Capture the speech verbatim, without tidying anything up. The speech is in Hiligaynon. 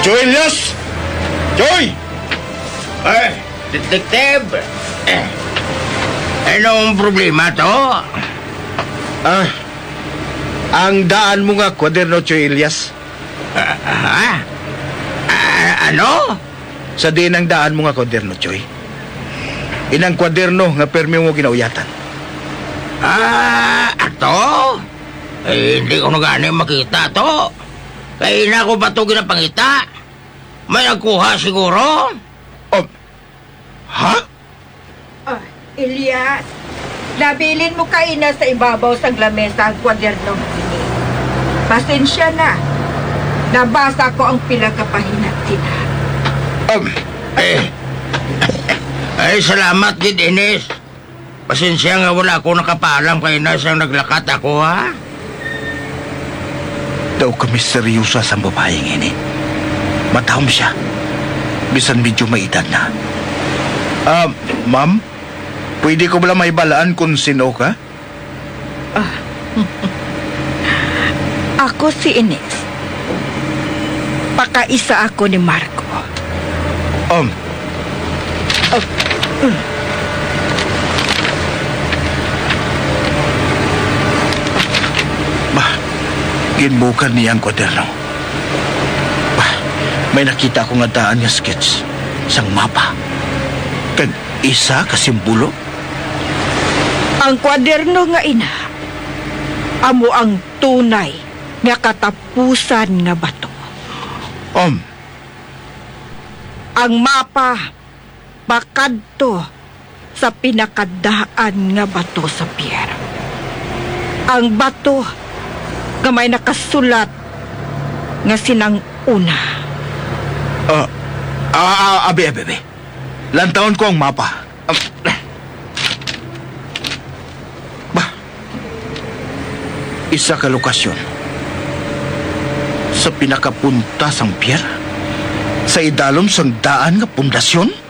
Joy Elias! Joy! Eh, Detective! Eh, anong problema to? Ah, ang daan mo nga kwaderno, Joy Elias. Ah, ha? Ah, ano? Sa diin ang daan mo nga kwaderno, Joy? Inang kwaderno nga permi mo ginauyatan. Ah, ato? Eh, hindi ko na gani makita to. Kay ina ko pa to ginapangita. May nagkuha siguro? Oh, ha? Ah, Elias, nabilin mo kaina sa ibabaw sang lamesa ang kwaderno nga ini. Pasensya na. Nabasa ko ang pila ka pahinat sina. Um, eh, ay, salamat gid, Ines. Pasensya nga wala ako nakapaalam kay na siyang naglakat ako, ha? Daw ka misteryosa sang babaeng ini. Matahom siya. Bisan medyo may edad na. Ah, ma'am, pwede ko bala mahibalaan kung sino ka? Ah. Ako si Ines. Pakaisa ako ni Marco. Um. Ah. Bah, ginbukan niya ang kwaderno. Bah, may nakita ko nga daan nga sketch sang mapa. Kag isa ka simbolo. Ang kwaderno nga ina, amo ang tunay nga katapusan nga bato. Um. Ang mapa pakadto sa pinakadaan nga bato sa pier. Ang bato nga may nakasulat nga sinang-una. Ah, ah, ah, abi, abi, abi. Lantawon ko ang mapa. Ah, bah, isa ka lokasyon sa pinakapunta sang pier, sa idalom sang daan nga pundasyon.